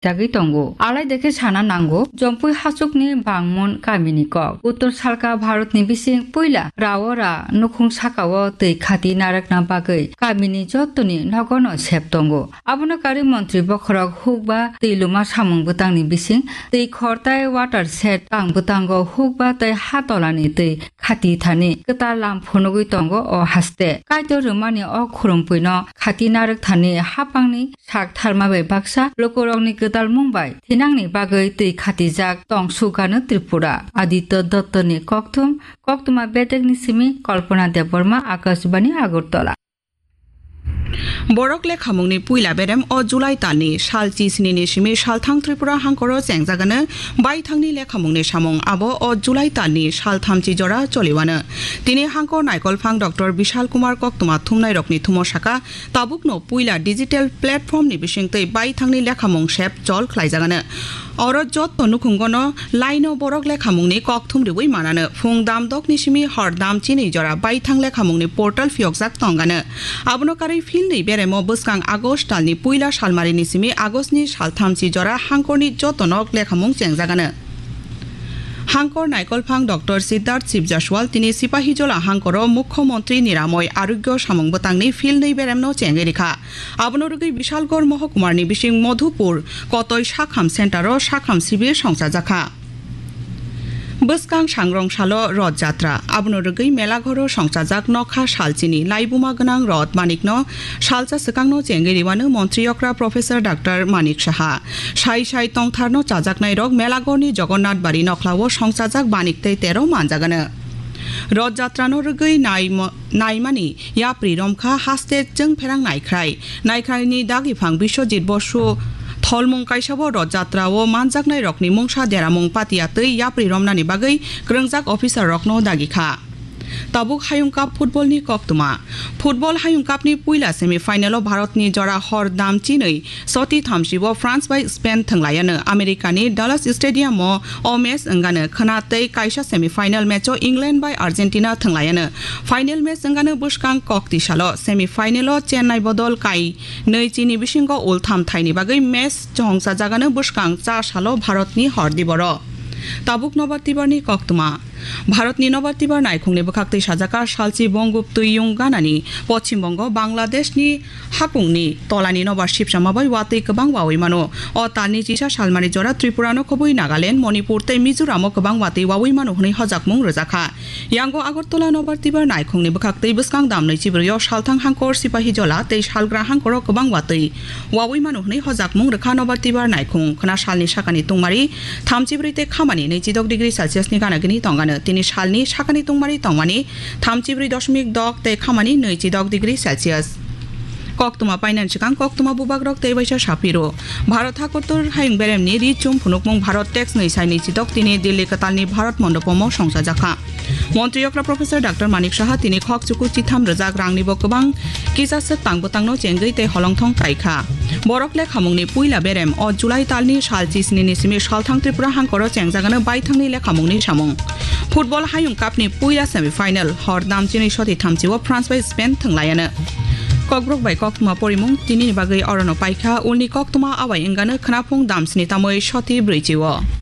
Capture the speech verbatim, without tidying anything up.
jagwi tongo. Alai dekhe sana nango, Jompui hachukni Bangmon kamini kok. Uttor salka Bharatni bising puila Raora nukhung sakao twi khati narwkna bagwi kamini jottoni nogono sep tongo. Abono karwi montri bokhorok hukba twi luma samung bwtangni bising twi khortai water shed tang bwtango hukba tei ha tolani twi khati thani kwtal lam phunugwi tongo o haste. Kaitor rwmani o khurumpuino khati narwk thani hapangni sak tharma bai baksa lukurokni kwtal mung bai thinangni bagwi twi khatijak tong sugano Tripura. Aditya Dattani kokthum, koktwma bedekni simi Kalpana Debbarma, Akashbani Agartala. Borok lekhamungni puila berem o July talni sal chi sini ni simi salthang Tripura hangkoro chengjagano baithangni lekhamungni samung abo o July talni sal thamchi jora choliwano. Tini hangkor naikolphang Doctor Bishal Kumar koktwma thumnairokni thumo saka, tabukno puila digital platform ni bisingtwi baithangni lekhamung sep chol khlaijagano. Oro jotto nukhungono line-o borok lekhamungni kokthum riwi manano. Phung dam dokni simi hor dam chinwi jora baithang lekhamungni portal phiyokjak tongano. Abono karwi philnwi beremo bwskang August talni puila salmarini simi Augustni salthamchi jora hangkorni jotto nok lekhamung chengjagano. Hangkor naikolphang Doctor Siddharth Shiv Jaswal tini Sipahijola hangkoro Mukhyamantri Niramoy Arogyo samung bwtangni philnwi beremno chengwi rikha. Abono rwgwi Bishalgarh Mohokumarni bising Madhupur Kotoi Sakham Center-o Sakham Sibir songchajakha. Bwskang sangrong salo Roth Jatra, abono rwgwi Melaghoro songchajak nokha salchini laibuma gwnang Roth Manikno salsa swkangno chengwi riwano Montri Okra Professor Doctor Manik Saha. Sai sai tongtharno chajaknairok Melaghorni Jagannath Bari nokhlao songchajak Manik tei tero manjagano. Roth Jatrano rwgwi naimo-, naimani yapri romkha haste chwngpherang naikhrai. Naikhraini dagiphang Biswajit Bosu tholmung kaisabo Roth Jatrao manjaknairokni mungsa deramung patia twi yapri romnani bagwi kwrwngjak officer-rokno dagikha. Tabuk Hayung Cup football-ni koktwma. Football Hayung Cup-ni puila semi-final-o Bharatni jora hor dam chinwi soti thamsibo France bai Spain thwnglaiano. America-ni Dallas Stadium-o o match wngano khwna tei kaisa semi-final match-o England bai Argentina thwnglaiano. Final match wngano bwskang kokti salo semi-final-o Chennai bodol kai nwi chini bisingo ultham thaini bagwi match chongchajagano bwskang cha salo Bharatni hor diboro. Tabuk nobar tibarni koktwma. Bharatni nobar tibar naikhungni bwkhaktwi sajaka salchi bongub twiyung ganani Pochim Bongo Bangladeshni hakungni tolani nobar sipsama bai watwi kwbang wawi mano. O talni chisa salmani jora Tripurano khobwi Nagaland, Manipur tei Mizoramo kwbang watwi wawi mano hwnwi hojakmung rwjakha. Yango Agartala nobar tibar naikhungni bwkhaktwi bwskang damnwi chibrwio salthang hangkor Sipahijola tei salgra hangkoro kwbang watwi wawi mano hwnwi hojakmung rwkha nobar tibar naikhung. Khwna salni sakani tungmari thamchibrwi tei khamani nwichidok degree Celsius ni gana gini tongano. Tini salni sakani tungmari tongmani thamchibrwi doshmik dok tei khamani nwichidok degree Celsius. Koktwma painani swkang koktwma bubagrok tei waisa saphiro. Bharat hakotor hayung beremni ri chum phunukmung Bharat Tex nwi sai nwichidok tini Delhi kwtalni Bharat Mondopomo songchajakha. Montri okra Professor Doctor Manik Saha tini khok chuku chitham rwjak rangnibo kwbang kisa swk tang bwtangno chengwi tei holongthong kaikha. Borok lekhamungni puila berem o July talni sal chisnini simi salthang Tripura hangkoro chengjagano baithangni lekhamungni samung. Football Hayung Cup-ni puila semi-final hor damchinwi soti thamchio France bai Spain thwnglaiano. Kokborok bai koktwma porimung tinini bagwi orono paikha, ulni koktwma awai wngano khwnaphung damsni tamwi soti brwichio.